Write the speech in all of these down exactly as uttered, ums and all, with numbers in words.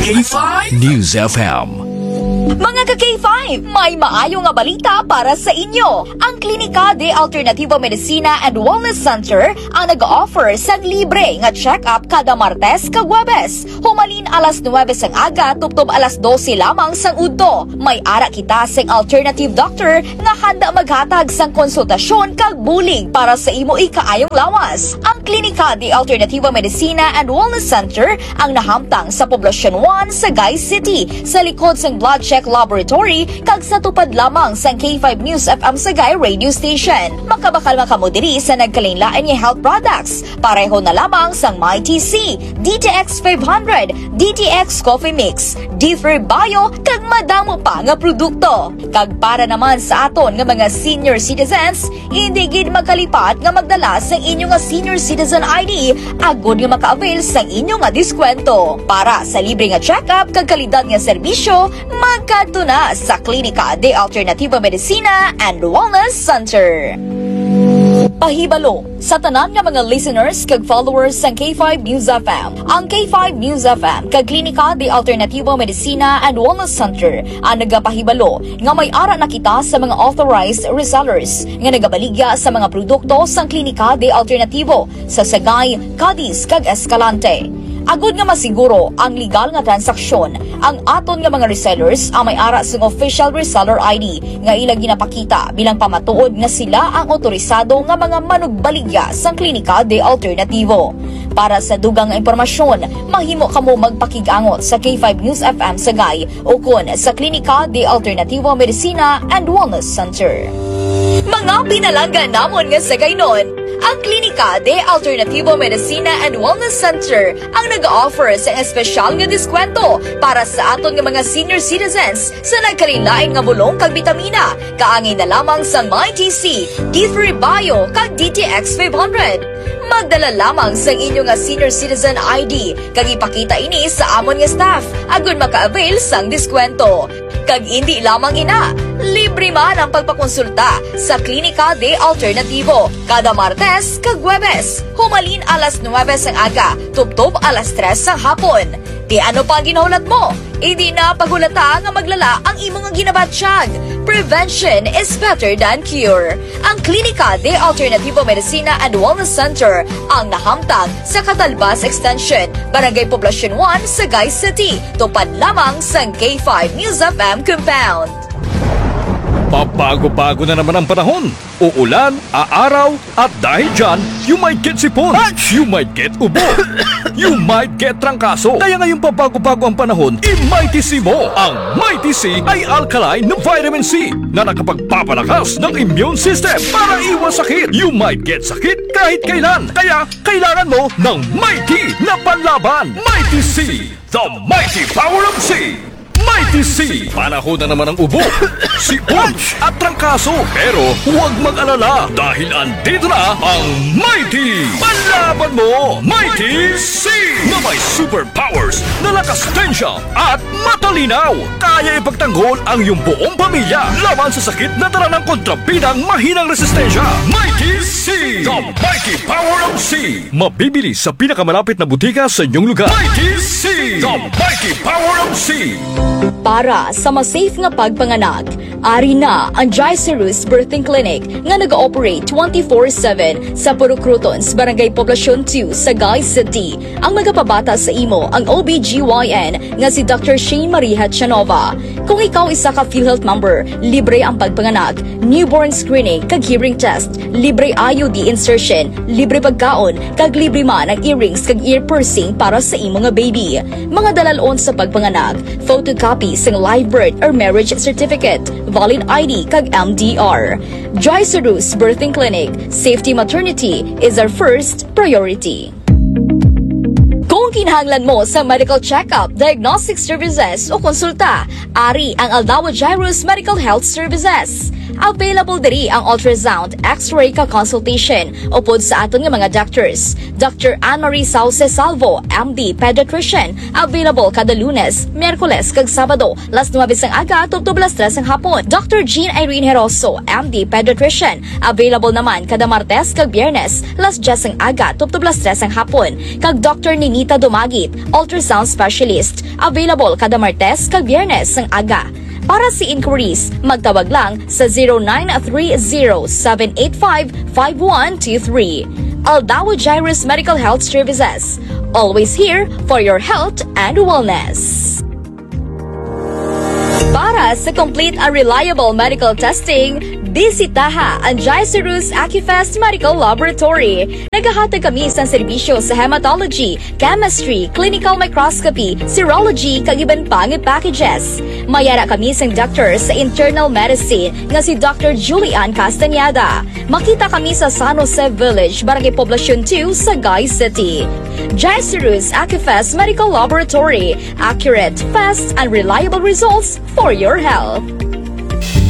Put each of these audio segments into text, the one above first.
K five News F M. Mga ka-K five, may maayo nga balita para sa inyo. Ang Klinika de Alternativo Medicina and Wellness Center ang nag-offer sang libre nga check-up kada Martes kag Huwebes, humalin alas nuwebe sang aga tubtob alas dose lamang sang udto. May ara kita sing alternative doctor nga handa maghatag sang konsultasyon kag bulig para sa imo ikaayong lawas. Ang Klinika de Alternativo Medicina and Wellness Center ang nahamtang sa Poblacion one, Sagay City, sa likod sang Blood Check Laboratory kag sa tupad lamang sang K five News F M Sagay Radio Station. Makabakal man kamo diri sa nagkalainlain nga health products, pareho na lamang sang Mighty C, D T X five hundred, D T X Coffee Mix, D three Bio, kag madamo pa nga produkto. Kag para naman sa aton nga mga senior citizens, hindi gid makalipat nga magdala sang inyo nga senior citizen I D agod nga maka-avail sang inyo nga diskwento. Para sa libre nga check-up kag kalidad nga serbisyo, magkadto na sa Klinika de Alternativo Medicina and Wellness Center. Pahibalo, sa tanan nga mga listeners kag followers sang K five News F M, ang K five News F M kag Klinika de Alternativo Medicina and Wellness Center ang nagapahibalo nga may ara na kita sa mga authorized resellers nga nagabaligya sa mga produkto sang Klinika de Alternativo sa Sagay, Cadiz, kag Escalante. Agod nga masiguro ang legal nga transaksyon, ang aton nga mga resellers ang may ara sing official reseller I D nga ila ginapakita bilang pamatuod nga sila ang otorisado nga mga manugbaligya sang Klinika de Alternativo. Para sa dugang nga impormasyon, mahimo kamo magpakig-angot sa K five News F M Sagay ukon sa Klinika de Alternativo Medicina and Wellness Center. Mga pinalangga namon nga Sagaynon, ang Klinika de Alternativo Medicina and Wellness Center ang nag-offer sang espesyal nga diskwento para sa aton nga mga senior citizens sa nagkalainlain nga bulong kag bitamina, kaangay na lamang sang Mighty C, D three Bio, kag D T X five hundred. Magdala lamang sang inyo nga senior citizen I D kag ipakita ini sa amon nga staff agod maka-avail sang diskwento. Kag indi lamang ina, libre man ang pagpakonsulta sa Klinika de Alternativo kada Martes kag Huwebes, humalin alas nuwebe sang aga tubtob alas tres sang hapon. Ti ano pa ang ginahulat mo? Indi na paghulata nga maglala ang imo nga ginabatyag. Prevention is better than cure. Ang Klinika de Alternativo Medicina and Wellness Center ang nahamtang sa Catalbas Extension, Barangay Poblacion one, Sagay City, tupad lamang sang K five News F M compound. Pabago-bago na naman ang panahon. Uulan, aaraw, at dahil dyan, you might get sipon, you might get ubo, you might get trangkaso. Kaya ngayong pabago-bago ang panahon, i-Mighty C mo. Ang Mighty C ay alkaline na vitamin C na nakapagpapalakas ng immune system para iwas sakit. You might get sakit kahit kailan. Kaya kailangan mo ng Mighty na panlaban. Mighty C, the mighty power of C. Mighty C, panahon na naman ang ubo, sipon, at trangkaso. Pero huwag mag-alala dahil andito na ang Mighty Panlaban Mo, Mighty C, na may superpowers na lakas tensya at matalinaw. Kaya ipagtanggol ang iyong buong pamilya laban sa sakit na dala ng kontrabidang mahinang resistensya. Mighty C, the mighty power of C. Mabibili sa pinakamalapit na butika sa inyong lugar. Mighty C, the mighty power of C. Para sa mas safe nga pagpanganak, ari na ang Joy Cerus Birthing Clinic nga nag-ooperate twenty-four seven sa Purok Crotons, Barangay Poblacion two, Sagay City. Ang magapabata sa imo ang O B G Y N nga si Doctor Shane Marie Hachanova. Kung ikaw isa ka PhilHealth member, libre ang pagpanganak, newborn screening kag hearing test, libre I U D insertion, libre pagkaon, kag libre man ang earrings kag ear piercing para sa imo nga baby. Mga dalalon sa pagpanganak, photocopy sang live birth or marriage certificate, valid I D kag M D R. Joy Cerus Birthing Clinic, safety maternity is our first priority. Kung kinahanglan mo sa medical check-up, diagnostic services o konsulta, ari ang Aldao Jairus Medical Health Services. Available diri ang ultrasound, X-ray ka consultation upod sa aton nga mga doctors. Doctor Anne Marie Sauce Salvo, M D, pediatrician, available kada Lunes, Miyerkules, kag Sabado, las nuebe sang aga tubtob las tres sang hapon. Doctor Jean Irene Heroso, M D, pediatrician, available naman kada Martes kag Biyernes, las diyes sang aga tubtob las tres sang hapon, kag Doctor Ninita Dumagit, ultrasound specialist. Available kada Martes kag Biyernes sang aga. Para sa inquiries, magtawag lang sa zero nine three zero seven eight five five one two three. Aldao Jairus Medical Health Services. Always here for your health and wellness. Para sa complete and reliable medical testing, bisitaha ang Jairus Acufest Medical Laboratory. Nagahatag kami sang serbisyo sa hematology, chemistry, clinical microscopy, serology, kag iban pa nga packages. May ara kami sang doctor sa internal medicine nga si Doctor Julian Castañeda. Makita kami sa San Jose Village, Barangay Poblacion two, Sagay City. Jairus Acufest Medical Laboratory, accurate, fast, and reliable results for your health.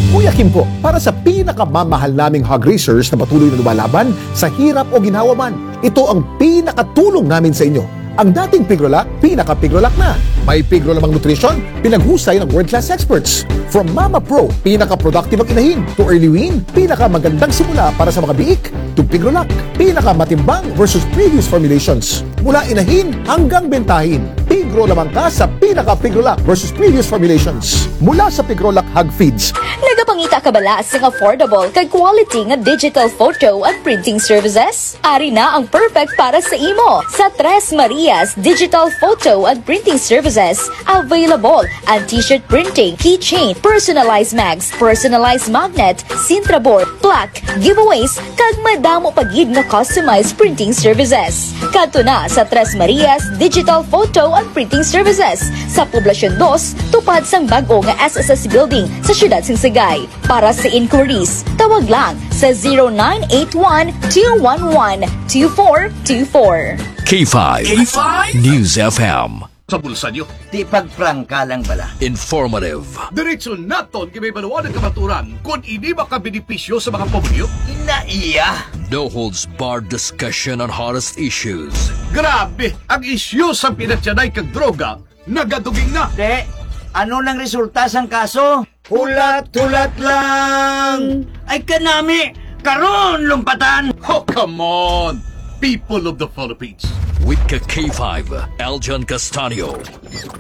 Kuya Kim po, para sa pinakamamahal naming hog raisers na patuloy na lumalaban sa hirap o ginhawa man, ito ang pinakatulong namin sa inyo. Ang dating Pigrolac, pinaka-Pigrolac na. May Pigro lamang nutrition, pinaghusay ng world-class experts. From Mama Pro, pinaka-productive ang inahin, to Early Wean, pinakamagandang simula para sa mga biik, to Pigrolac, pinakamatimbang versus previous formulations. Mula inahin hanggang bentahin, Pigro lamang ka sa pinaka-Pigrolac versus previous formulations. Mula sa Pigrolac Hog Feeds. Nagapangita ka bala sing affordable kag quality nga digital photo and printing services? Ari na ang perfect para sa imo. Sa Tres Marias Digital Photo and Printing Services, available ang t-shirt printing, keychain, personalized mags, personalized magnet, Sintra board, plaque, giveaways, kag madamo pa gid nga customized printing services. Kadto na sa Tres Marias Digital Photo and Printing Services sa Poblacion Dos, tupad sang bag-o nga S S S Building sa siyudad sang Sagay. Para sa inquiries, tawag lang sa zero nine eight one two one one two four two four. K five K five News F M. Sa bulsa niyo. Di pagprangka lang bala. Informative. Diretso naton kay may baluan ang kamaturan kung ini makabenepisyo sa mga pobre. Ina iya. No holds barred discussion on hottest issues. Grabe, ang isyu sa pinatyanay kag droga nagaduging na. Te, ano nang resulta sang kaso? Hulat-hulat lang. Ay kanami, karon lumpatan. Oh, come on, people of the Philippines. With ka K five, Aljan Castanio,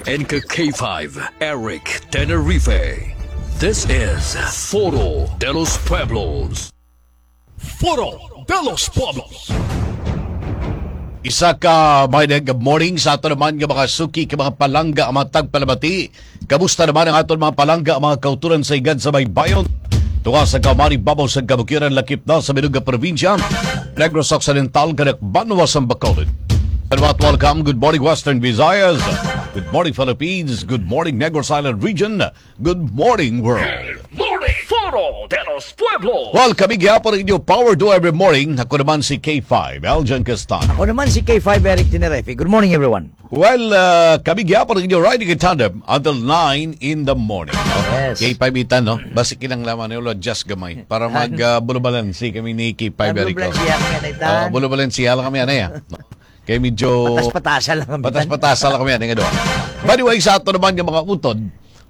and ka K five, Eric Tenerife. This is Foro de los Pueblos. Foro de los Pueblos. Isa ka maayong good morning sa ato naman nga mga suki, ka mga palangga, ang mga tagpalamati. Kamusta naman ang aton mga palangga, ang mga kauturan sa higad sa baybayon? Tunga sa kaumani, babaw sa kabukidnon, lakip na sa bilog nga probinsya, Negros Occidental, kag banwa sang Bacolod. And what, welcome. Good morning, Western Visayas. Good morning, Philippines. Good morning, Negros Island Region. Good morning, world. Morning, Foro de los Pueblos. Well, kami gihapon ang inyo Power Do Every Morning. Ako naman si K five, Aljan Castano. Ako naman si K five, Eric Tenerife. Good morning, everyone. Well, uh, kami gihapon ang inyo riding in tandem until nine in the morning. Yes. K five Itan, no? Basi kinahanglan man, ulo, adjust gamay. Para mag, uh, bulubalansi kami ni K five, Eric. Bulubalansi kami, Itan. Uh, bulubalansi lang kami, ano, ya? Kay medyo patas-patasa lang kami, Itan. Patas-patasa lang kami, ano, nga doon. By the way, sa ato naman nga mga utod,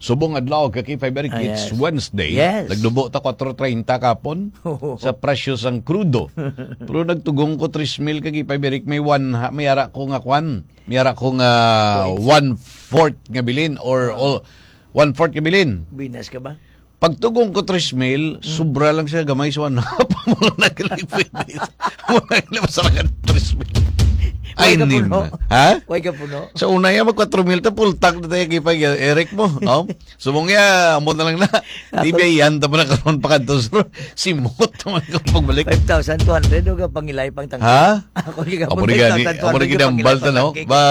subong adlaw, ka K five Eric, ah, it's, yes, Wednesday. Yes. Nagnubo ta kuwatro treinta kapon sa presyo sang krudo. Pero nagtugong ko tres mil ka K five Eric, may one ha-, may ara ko nga kwan. May ara ko nga one-fourth nga bilin or, or one-fourth nga bilin. Binas ka ba? Pagtugong ko tres mil, hmm, sobra lang siya gamay sa one half. Wala na kilay pwede. Wala na masarakan tres mil. Ay, way ka puno? Ha? Way ka puno? Sa una yan, mag kwatro mil ta, full tank na tayo, kipag Eric mo, no? Subong niya, amo na lang na. Tapos, di ba yan, tama na karon pa kadto, sir? Simot naman ka pagbalik. Five thousand two hundred, o ka pangilay pang tangke? Ha? Ako, ikaw, amo na gani, five thousand two hundred, amo na gani ang balta, no? Ba,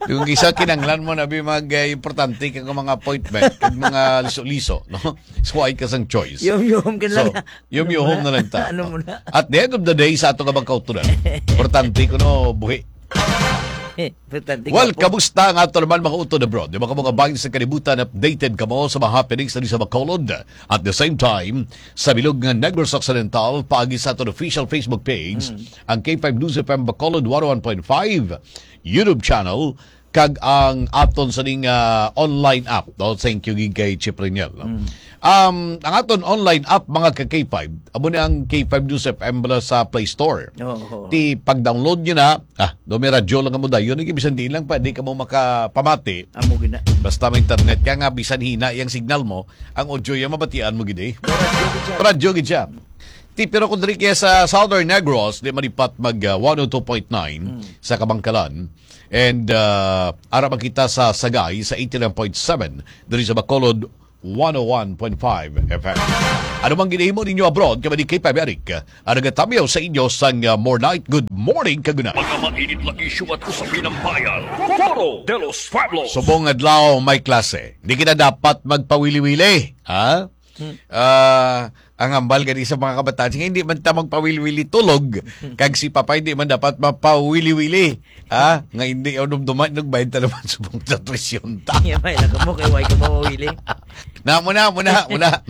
yung isa, kinanglan mo na, bi, mag, eh, importante kang mga appointment, kag mga liso-liso, no? So, ay ka sang choice. Yum-yum ka na lang. So, yum-yum na lang ta. Ano mo na? At the end of the day, sa ato nga mga kauturan, importante ko, no, buhi. Importante ka. Well, kamusta ang ato naman mga utod abroad? Di ba kamo kabahin sa kalibutan, updated kamo sa mga happenings na sa Bacolod? At the same time, sa bilog nga Negros Occidental, paagi sa aton official Facebook page, mm, ang K five News F M Bacolod one oh one point five YouTube channel, kag ang aton sa ning, ah, online app, no? Thank you gid kay Chief Reniel, no? Mm. Um, ang aton online app, mga ka K five, amo ni ang K five News F M bala sa Play Store. Oo, oo. Ti pag-download nyo na, ah, do may radyo lang mo dayon, bisan di lang pa, di ka mo makapamati. Amo gina. Basta may internet ka nga, bisan hina yung signal mo, ang audio yung mabatian mo gid eh. Radyo gid siya. Ti, pero kung diri kaya sa Southern Negros, di malipat mag, ah, one oh two point nine Mm. sa Kabangkalan. And, ah, ara man kita sa Sagay sa eighty-nine point seven, diri sa Bacolod, one oh one point five F M. Ano mang ginahimo ninyo abroad, kami ni K five Eric, ang nagatamyaw sa inyo sang, ah, More Night. Good morning, kaguna. Mga mainit na isyu at usapin ng bayan. Foro de los Pueblos. Subong adlaw may klase. Di kita dapat magpawili-wili, ha? Hmm. Ah, ang hambal gani sa mga kabataan, sige, hindi man ta magpawili-wili tulog, kag si Papa hindi man dapat mapawili-wili, ha? Nga hindi ako dumduman, nagbayad ta naman subong sa presyon ta. Iya, may lang mo kay why ka mawili. Na, muna, muna, muna.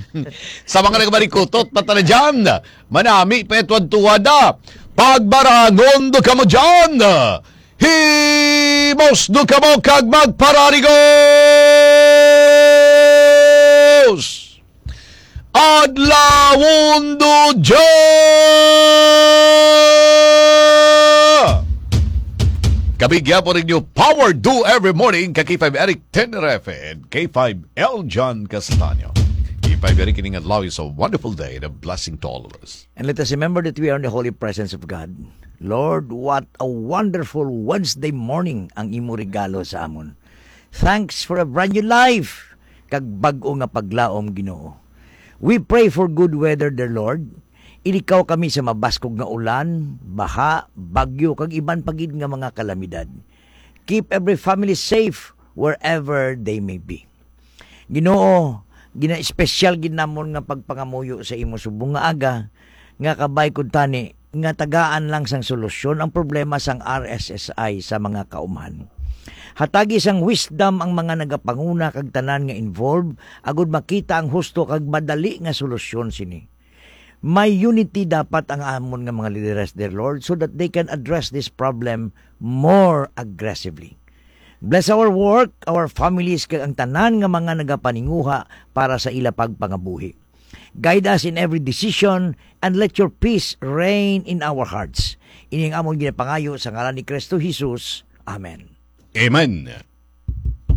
Sa mga nagmarikutot, patala dyan. Manami, petwad tuwada. Pagbarangon do kamo dyan. Himos do kamo kag magpararigos. Adlawon do dyan. Kami gyapon ninyo, Power Do Every Morning, ka K five Eric Tenerife and K five L John Castaño. K five Eric, kining adlaw is a wonderful day and a blessing to all of us. And let us remember that we are in the holy presence of God. Lord, what a wonderful Wednesday morning ang imo regalo sa amon. Thanks for a brand new life, kag bag-o nga paglaom, Ginoo. We pray for good weather, dear Lord. Ilikaw kami sa mabaskog nga ulan, baha, bagyo, kag iban pa gid nga mga kalamidad. Keep every family safe wherever they may be. Ginoo, gina-espesyal gid namon nga pagpangamuyo sa imo subong nga aga, nga kabay kuntani nga tagaan lang sang solusyon ang problema sang R S S I sa mga kaumhan. Hatagi sang wisdom ang mga nagapanguna kag tanan nga involved, agud makita ang husto kag madali nga solusyon sini. May unity dapat ang amon nga mga lideres, dear Lord, so that they can address this problem more aggressively. Bless our work, our families, kag ang tanan nga mga nagapaninguha para sa ila pagpangabuhi. Guide us in every decision and let your peace reign in our hearts. Ini ang amon ginapangayo sa ngalan ni Kristo Jesus. Amen. Amen.